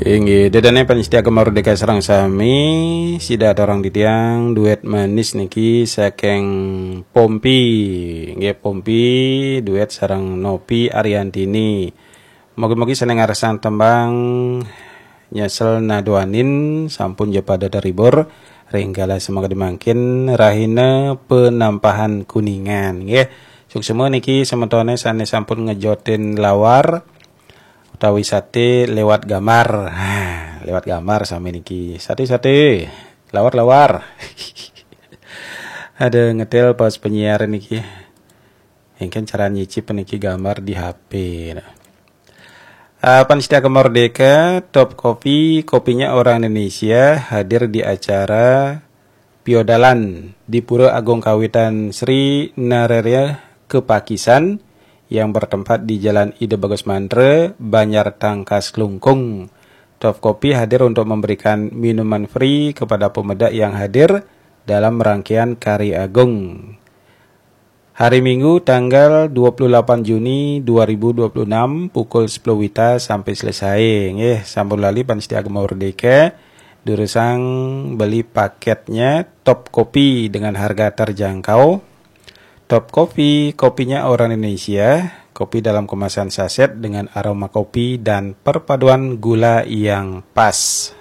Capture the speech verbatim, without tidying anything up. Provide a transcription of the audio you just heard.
Inggih, dedane panitia Gema Merdeka sareng sami, sida aturang titiang duet manis niki saking Pompi. Nggih, Pompi, duet sareng Nopi Ariantini. Mugi-mugi sane ngarsang tembang Nyesel Naduanin sampun ja pada terhibur ring galah semangkadi mangkin rahina penampahan Kuningan, nggih. Suksma niki semetone sane sampun ngejotin lawar utawi sate lewat gambar. Ha, lewat gambar sami niki. Sate-sate, lawar-lawar. Ada ngetel pas penyiar niki. Engken cara nyicip niki gambar di H P. Nah. Ah, panitia Gema Merdeka, Top Kopi, kopinya orang Indonesia, hadir di acara Piodalan di Pura Agung Kawitan Sri Nararya Kepakisan yang bertempat di Jalan Ida Bagus Mantra, Banjar Tangkas, Klungkung. Top Kopi hadir untuk memberikan minuman free kepada pemuda yang hadir dalam rangkaian Kari Agung. Hari Minggu tanggal dua puluh delapan Juni dua ribu dua puluh enam, pukul sepuluh wita sampai selesai. Nggih, sampun lali panitia Gema Merdeka durusang beli paketnya Top Kopi dengan harga terjangkau. Top Kopi, kopinya orang Indonesia, kopi dalam kemasan saset dengan aroma kopi dan perpaduan gula yang pas.